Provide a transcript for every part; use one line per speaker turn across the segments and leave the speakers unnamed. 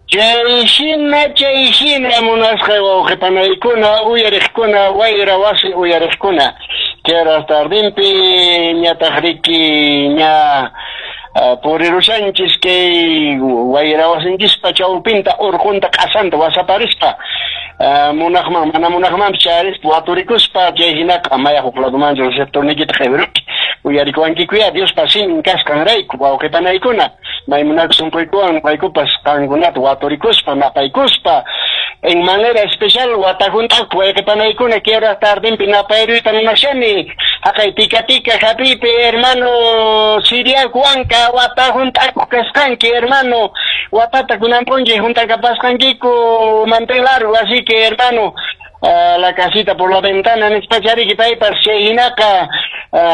Chay hina munasqay wawqipanaykuna, uyariqkuna, wayra wasi uyariqkuna. Chayras tardinpi ñataq riki ña purirushanchis kay wayra wasinchispa chawpinta urqunta q'asanta wasaparispa munaqman mana munaqmanpis chayarispa waturikuspa chay hinaqa amaya huk ladumanchu receptorniykita q'iwiruki uyarikuwankikuya Diospa simin kasqanrayku wawqipanaykuna maymunaku sunquykuwan noqaykupas qankunata waturikuspa napaykuspa en manera especial wata hunt'akuq wayqipanaykuna kay tardinpi napayruyta munashani haqay tika tika hapiypi hermano Siriaco Huanca wata hunt'akuq kasqanki hermano watata kunan p'unchay hunt'akapasqankiku mantel largo, así que, hermano, la casita por la ventana nispachariki paypas. Chay hinaqa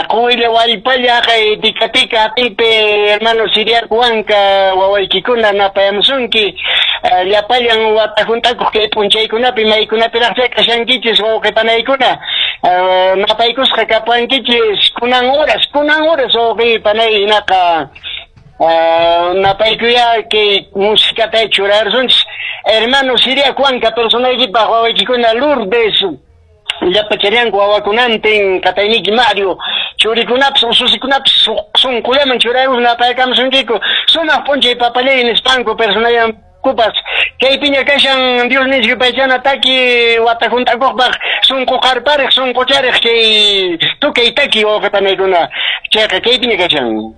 quwilla wallpalla haqay tika tika hapiypi hermano Siriaco Huanca wawaykikuna napayamusunki llapallan wata hunt'akuq kay p'unchaykunapi maykunapiraqcha kashankichis wawqipanaykuna napaykusqa kapuankichis kunan horas wawqipanay hinaqa napaykuya kay musikata churarsunchis hermano Siriaco Huanca personaykipaq wawaykikuna Lourdes llapa charianku wawakunantin qatayniki Mario churikunapas ususikunapis sunqullaman churarus napaykamusunkiku sumaq p'unchay papallay nispanku personallankupas kaypiña kashan Dios nisqa yupaychana taki wata hunt'akuqpaq sunqu qarpariq sunquchariq kay tukay taki wawqipanaykuna chayqa kaypiña kashan.